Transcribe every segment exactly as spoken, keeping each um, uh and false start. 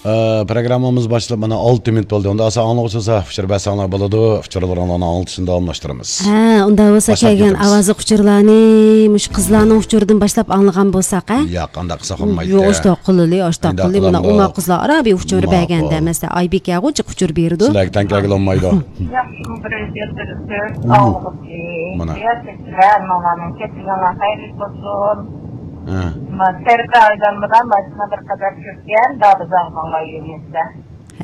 ئە، پروگراممىمىز باشلىنىپ مانا ئالتە مىنۇت بولدى. ئۇندا ئاسا ئاڭلىغۇچىلار ئۇچۇر بەرسەڭلار بولىدۇ. ئۇچۇرلىرىڭلارنى ئاڭلىتىشنى داۋاملاشتۇرىمىز. ھە، ئۇنداق بولسا باشلاپ كەلگەن كېتىمىز. ئاۋازلىق ئۇچۇرلارنى مۇشۇ قىزلارنىڭ ئۇچۇرىدىن باشلاپ ئاڭلىغان بولساق، ھە؟ ياق، ئانداق قىلساق بولمايدۇ. يوق، ئۇنداق قىلىلى، ئۇنداق ئۇنداق قىلىمىز. قىلامدۇ؟ ئوماق قىزلار ئارا بىر ئۇچۇر ماقۇل. بەرگەندە، مەسىلەن، ئايبىكەگۇ جىق ئۇچۇر بېرىدۇ. سىلەرگە تەڭ كەلگىلى بولمايدۇ. ياخشىمۇ بىرىنچى يىلدىرىسىز، مم. ئاۋۇلۇمچى. مانا. يا سەككىز ھەممىڭلارنىڭ كەچۈرگەڭلار خەيرلىك بولسۇن. ھە. ما-، سەرپە ئايلانمىدا ماشىنا بىر قەدەر كۆپكەن، دادا زاغماڭلار يۆنىسە.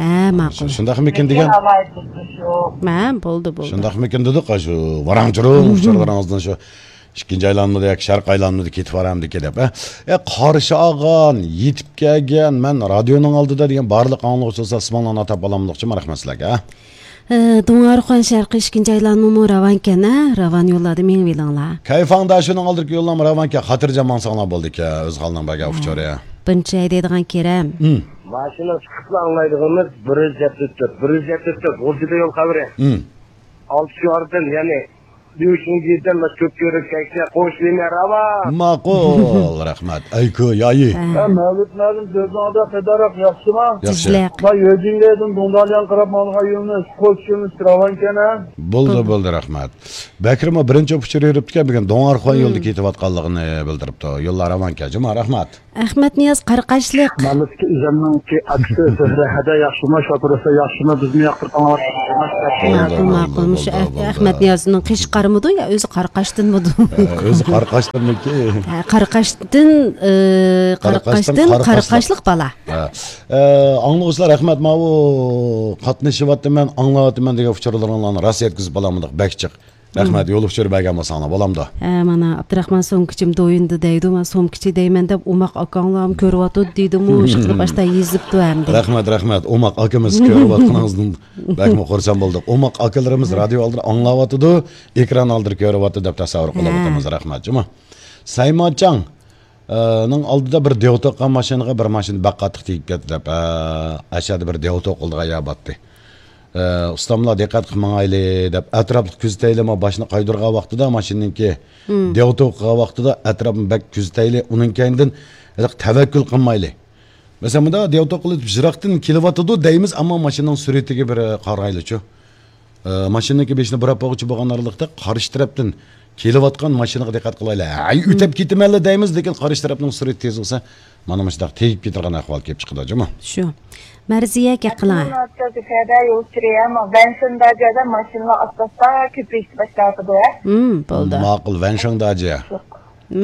ھە، ماقۇل. شۇنداقمىكىن دېگەن. ئالايىتۇسى شۇ. ھە، بولدى، بولدى. شۇنداقمىكىن دېدۇق، شۇ ۋاراڭ-چۇرۇڭ ئۇچۇرلىرىڭىزدىن شۇ ئىككىنچى ئايلانمىدا ياكى شەرقىي ئايلانمىدا كېتىپ بارامدىكى دەپ، ھە؟ ئە، قارشى ئالغان، يېتىپ كەلگەن، مەن رادىيونىڭ ئالدىدا دېگەن بارلىق ئاڭلىغۇچىلار ئىسمىڭلارنى ئاتاپ ئالامدۇقچىمۇ؟ رەھمەت سىلەرگە، ھە؟ ئە، دۇڭئارخان شەرقىي ئىككىنچى ئايلانمىمۇ راۋانكەن، ھە؟ راۋان يوللاردا مېڭىۋېلىڭلار. كەيفاڭدا شۇنىڭ ئالدىدىكى يوللارمۇ راۋانكەن، خاتىرجەم ماڭساڭلار بولدىكەن، ئۆز خالىنىڭ بەرگەن ئۇچۇرى. بىرىنچى ھەيدەيدىغان كېرەم. ھىم. ماشىنا چىقىپلا ئاڭلايدىغىنىمىز بىر يۈز يەتتە تۆت، بىر يۈز يەتتە تۆت، غۇلجىدا يول خەۋىرى. ھىم. ئالتە شوئاردىن، يەنى، بىۋشىڭ جىدەن باشقا كۆپ كۆرۈپ كەكسە قوشۇلما راۋا. ماقۇل، رەھمەت. ئەيكۇ يايى. ھە. ھە، مەۋلۇت مەلۇم سۆزۈڭدە قىدارەق ياخشىما؟ ياخشى. تىزلەق. ما يۆجىڭگەيدىن دۇڭداليان قاراپ ماڭغان يولىمىز قوش يولىمىز راۋانكەن، ھە؟ بولدى، بولدى، رەھمەت. بەكرىممۇ بىرىنچى ئۇچۇر يۈرۈپتىكەن، بۈگۈن دۇڭئارخان يولىدا كېتىۋاتقانلىقىنى بىلدۈرۈپتۇ. يوللار راۋانكەن، جۇما، رەھمەت. ئەخمەتنىياز قارىقاشلىق. مەملىكىتى ئۆزەمنىڭكى ئاكىسى زۆھرە ھەدە ياخشىمۇ، شوپۇرۇسى ياخشىمۇ، بىزمۇ ياقتۇرۇپ ئاڭلاۋاتىمىز. بولدى، ماقۇل، بولدى، ماقۇل. مۇشۇ بولدى، ئەخ-، بولدى. ئەخمەتنىيازنىڭ قېشى قارىمىدۇ يا ئۆزى قارىقاشتىنمىدۇ؟ ئە، ئۆزى قارىقاشتىنمىكى؟ ھە، قارىقاشتىن، ئە، قارىقاشتىن قارىقاشتىن قارىقاشلىق. قارىقاشلىق بالا. ھە. ئە، ئاڭلىغۇچىلار، رەھمەت، ماۋۇ قاتنىشىۋاتىمەن، ئاڭلاۋاتىمەن دېگەن ئۇچۇرلىرىڭلارنى راست يەتكۈزۈپ بولالمىدۇق، بەك جىق. رەھمەت، يول ئۇچۇرى بەرگەن بولساڭلار، بولامدۇ؟ ھە، مانا، ئابدۇراخمان سومكىچىم دويۇندا دەيدۇ، ما سومكىچى دەيمەن دەپ، ئوماق ئاكاڭلارمۇ كۆرۈۋاتىدۇ دېدىمۇ، ئىشقىلىپ باشتا يېزىپتۇ ئەمدى. رەھمەت، رەھمەت، ئوماق ئاكىمىز كۆرۈۋاتقىنىڭىزدىن بەكمۇ خۇرسەن بولدۇق. ئوماق ئاكىلىرىمىز رادىيو ئالدىدا ئاڭلاۋاتىدۇ، ئېكران ئالدىدا كۆرۈۋاتىدۇ دەپ تەسەۋۋۇر قىلىۋاتىمىز. رەھمەت، جۇما. سەيمانچاڭ. ئە، نىڭ ئالدىدا بىر دېۋا توقۇغان ماشىنىغا بىر ماشىنا بەك قاتتىق تېگىپ كەتتى دەپ، ئە، ئەشەدە بىر دېۋا توقۇلىدىغان يەر بارتتى. ئە، ئۇستاملار دىققەت قىلىپ ماڭايلى دەپ، ئەتراپلىق كۆزىتەيلى، ما باشنى قايدۇرغان ۋاقتىدا ماشىنىنىڭكى دېۋا توقۇغان ۋاقتىدا ئەتراپنى بەك كۆزىتەيلى، ئۇنىڭ كەينىدىن ھېلىقى تەۋەككۈل قىلمايلى. مەسىلەن، مۇنداق دېۋا توقۇلۇپ يىراقتىن كېلىۋاتىدۇ دەيمىز، ئەمما ماشىنىنىڭ سۈرئىتىگە بىر، ئە، قارايلىچۇ. ئە، ماشىنىنىڭكى بېشىنى بۇراپ بولغۇچە بولغان ئارىلىقتا قارشى تەرەپتىن كېلىۋاتقان ماشىنىغا دىققەت قىلايلى. ھەي، ئۆتەپ كېتىمەنلا دەيمىز، لېكىن قارشى تەرەپنىڭ سۈرئىتى تېز بولسا، مانا مۇشۇنداق تېگىپ كېتىدىغان ئەھۋال كېلىپ چىقىدۇ، جۇمۇ. شۇ. مەرزىيە، گەپ قىلىڭ. ماشىنىلار ئاستا-ئاستا كۆپىيىشكە باشلاۋاتىدۇ، ھە؟ ھىم، بولدى. ماقۇل، ۋەنشاڭداجى.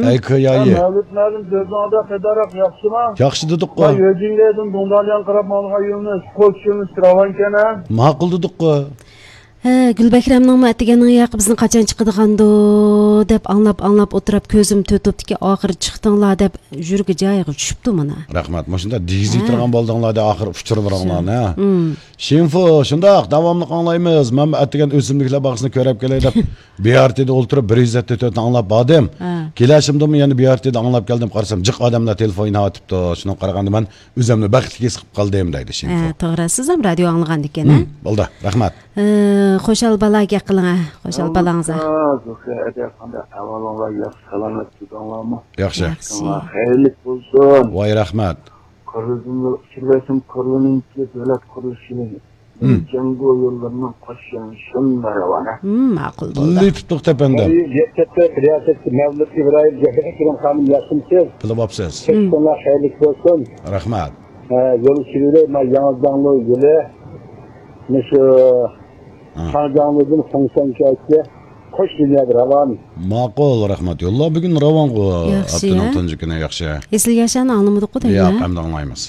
ئەي، كۆيايى. مەۋلۇت مەلۇم سۆزۈڭدە قىدارەق ياخشىما؟ ياخشى دېدۇققۇ. ما يۆجىڭگەيدىن دۇڭداليان قاراپ ماڭغان يولىمىز قوش يولىمىز راۋانكەن، ھە؟ ماقۇل دېدۇققۇ. ھە، گۈلبەكرەمنىڭمۇ ئەتىگەننىڭ ياقى بىزنى قاچان چىقىدىغاندۇ دەپ ئاڭلاپ، ئاڭلاپ ئولتۇرۇپ كۆزۈم تۆتۈپتىكى ئاخىرى چىقتىڭلار دەپ يۈرىكى جايىغا چۈشۈپتۇ مانا. رەھمەت. مۇشۇنداق دېگۈزۈۋېتىدىغان بولدۇڭلار دە ئاخىر ئۇچۇرلىرىڭلارنى، ھە؟ شىنفۇ، شۇنداق، داۋاملىق ئاڭلايمىز. مەن ئەتىگەن ئۆسۈملۈكلەر باغچىسىنى كۆرۈپ كېلەي دەپ، بىئارتىدا ئولتۇرۇپ، بىر يۈز يەتتە تۆتنى ئاڭلاپ باردىم. ھە. كېلىشىمدىمۇ يەنە بىئارتىدا ئاڭلاپ كەلدىم، قارىسام، جىق ئادەملەر تېلېفون ئويناۋېتىپتۇ. شۇنىڭغا قارىغاندا، مەن ئۆزۈمنى بەختلىك ھېس قىلىپ قالدىم، دەيدۇ شىنفۇ. ھە، توغرا. سىزمۇ رادىيو ئاڭلىغاندىكەن، ھە؟ ھىم، بولدى، رەھمەت. ئە، خۇشال بالا، گەپ قىلىڭ، ھە. خۇشال بالاڭىز، ھە. زۇكى ئەدە، قانداق ئەھۋالىڭلار؟ ياخشى، سالامەت تۇردۇڭلارمۇ؟ ياخشى. ياخشى. خەيرلىك بولسۇن. ۋاي، رەھمەت. كورلىدىن ئۇچۇرلاشتىم، كورلىنىڭكى دۆلەت قۇرۇلۇشى. ھىم. جەڭگو يوللىرىنىڭ قوشۇشىنى شۇنداق راۋان، ھە؟ ھىم، ماقۇل بولدى. لېتىپلىق تەپەندىم. يەتتە تۆت رىياسەتچى مەۋلۇت ئىبراھىم زەھرەكرەم خانىم ياخشىمۇسىز؟ بىلىۋاپسىز. ھىم. كەچۈرۈڭلار خەيرلىك بولسۇن. رەھمەت. ھە، يول ئۇچۇرى، ما ياڭزاڭلۇ يولى. مۇشۇ ھە. شاڭجاڭلىدىن خۇڭسەنگەچكە قوش لىنىيەدە راۋان. ماقۇل، رەھمەت. يوللار بۈگۈن راۋانغۇ، ياخشى، ئاپتونوم ھە؟ تۇنجى كۈنى ياخشى. ئېسىل ياشارنى ئاڭلىمىدۇققۇ دەيمەن. ياق، ئەمدى ئاڭلايمىز.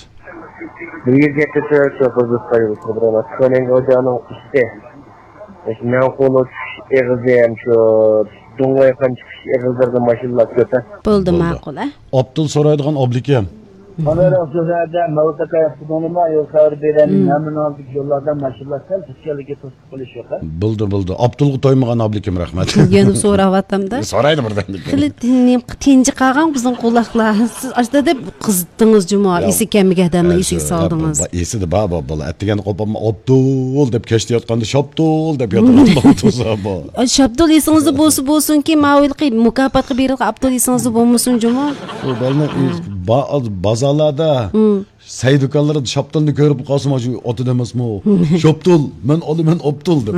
بىر يۈز يەتتە تۆت شوپۇر زۇتقا يول قىلدۇرۇۋاتىدۇ. كۆنەڭگى غوجانىڭ ئۈستى. مۇشۇ مەڭقۇلۇ چىقىش ئېغىزى ھەم شۇ دۇڭۋەيخان چىقىش ئېغىزلىرىدا ماشىنىلار كۆپ، ھە؟ بولدى، بولدى. ماقۇل، ھە؟ ئابدۇل سورايدىغان ئابلىكىم. قانداقراق سۆزلەردە مەۋلۇت ئاكا ياخشىدىڭلىما؟ يول خەۋىرى بېرەلمەي، ھىم. ھەممىنىڭ يوللاردىن ماشىنىلار سەل دۇچ كەلگەن توسۇپ قېلىش يوق، ھە؟ بولدى، بولدى. ئابدۇلغا تويمىغان ئابلىكىم، رەھمەت. يەنە سوراۋاتامدا. سورايدۇ بىردەم. خېلى تىن-، تىنجى قالغان بىزنىڭ قۇلاقلار. سىز ئاشتا دەپ قىزىتتىڭىز جۇمۇ، يا، ئېسى كەلمىگەن ئادەمنى يا، ئېسىگە شۇ، سالدىڭىز. يا، بۇ، بۇ ئېسىدە بار، بۇ، بۇ. ئەتىگەندە قوپۇپمۇ، ئابدۇل دەپ كەچتە ياتقاندا، شاپتۇل دەپ ياتىدىغان بولدى بۇ. ئاي، شاپتۇل ئېسىڭىزدە بولسا بولسۇنكى، ماۋۇ ھېلىقى مۇكاپاتقا بېرىلغان ئابدۇل ئېسىڭىزدە بولمىسۇن جۇمۇ. بۇ بالىنى ھە. با-، بازارلاردا سەي دۇكانلىرىدا شاپتۇلنى كۆرۈپ قالسىمۇ، شۇ ئاتىدۇ ئەمەسمۇ؟ شاپتۇل، مەن ئالىمەن ئاپتۇل دەپ.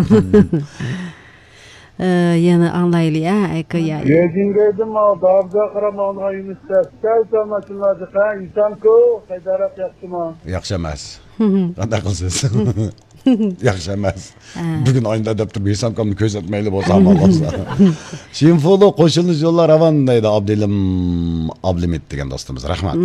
ئە، يەنە ئاڭلايلى، ئە، ئاكا، يا. بېيجىڭگە ئىدىم، داۋزا قاراپ ماڭغان يۇنۇس دەپ. سەل-سەل ماشىنىلاردا، ھە، ئىنسانكۇ، خەيدەرەپ ياخشىمۇ؟ ياخشى ئەمەس. قانداق قىلىسىز؟ ياخشى ئەمەس. ھە. بۈگۈن ئاينىدا دەپ تۇرۇپ، ھېسابكامنى كۆرسەتمەيلى بولسا ئامان بولسا. شىنفۇلۇ قوشۇلۇش يوللار راۋان دەيدۇ ئابدىلىم، ئابلىمىت دېگەن دوستىمىز. رەھمەت.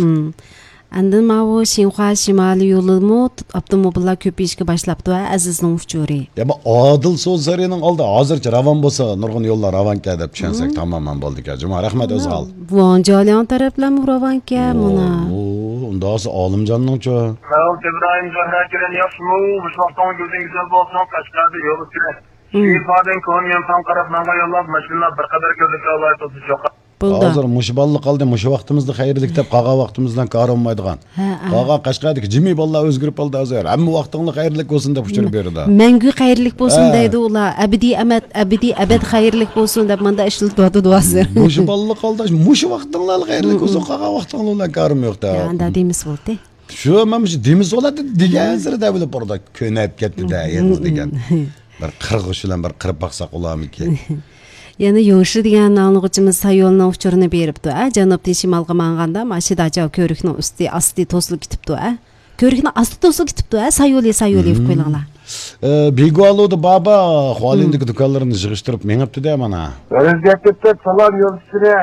ئاندىن ماۋۇ شىنخۇا شىمالىي يولىمۇ ئاپتوموبىللار كۆپىيىشكە باشلاپتۇ، ھە، ئەزىزنىڭ ئۇچۇرى. يا، بۇ ئادىل سودا سارىيىنىڭ ئالدى ھازىرچە راۋان بولسا، نۇرغۇن يوللار راۋانكەن دەپ چۈشەنسەك تامامەن بولىدىكەن. جۇما، رەھمەت، ئۆزھال. ۋاڭجالياڭ تەرەپلەرمۇ راۋانكەن، مانا. ئۇ، ئۇنداق بولسا ئالىمجاننىڭچۇ؟ ساۋۇت ئىبراھىم، جۆھرە كىرىن ياخشىمۇ؟ مۇشۇ ۋاقتىڭ كۆزۈڭ گۈزەل بولسۇن، قەشقەردە يول ئۈستىدە. شىفادىن كونا يۈنفاڭ قاراپ ماڭغان يوللار ماشىنىلار بىر قەدەر كۆزدە كاۋاي تۇرسا چوققا. بولدى. ھازىر مۇشۇ بالىلىق قالدى، مۇشۇ ۋاقتىمىزدا خەيرلىك دەپ قالغان ۋاقتىمىز بىلەن كارى بولمايدىغان. ھە، ھە. قالغان قەشقەردىكى جىمى بالىلار ئۆزگىرىپ قالدى ھازىر. ھەممە ۋاقتىڭلار خەيرلىك بولسۇن دەپ ئۇچۇرۇپ بېرىدۇ. مەڭگۈ خەيرلىك بولسۇن ھە. دەيدۇ ئۇلار. ئەبەدىي ئەمەت، ئەبەدىي ئەبەد خەيرلىك بولسۇن دەپ ماندا ئىشلىتىۋاتىدۇ ھازىر. مۇشۇ بالىلىق قالدى، مۇشۇ ۋاقتىڭلار خەيرلىك بولسۇن، قالغان ۋاقتىڭلار بىلەن كارىم يوق دە. يا، ئاندا دېمىسە بولدى. شۇ، مەن مۇشۇ دېمىسە بولاتتى دېگەن سېرى دەۋېلىپ بارىدۇ. كۆنۈپ كەتتى دە، يېڭىز دېگەن. بىر قىرغۇچ بىلەن بىر قىرىپ باقساق بولارمىكىن؟ يەنە يوشى دېگەن ئاڭلىغۇچىمىز سايولنىڭ ئۇچۇرىنى بېرىپتۇ. ئە، جەنۇبتىن شىمالغا ماڭغاندا، ماشىداچا كۆۋرۈكنىڭ ئۈستى، ئاستى توسۇلۇپ كېتىپتۇ، ئە. كۆۋرۈكنىڭ ئاستى توسۇلۇپ كېتىپتۇ، ئە، سايولى، سايولى دېيىپ قويۇڭلار. ئە، بىگۇالۇدا بابا، خۇالىندىكى دۇكانلىرىنى يىغىشتۇرۇپ مېڭىپتۇ دە مانا. ئۆزگەرتىپتۇ، سالام يولدىشىنى.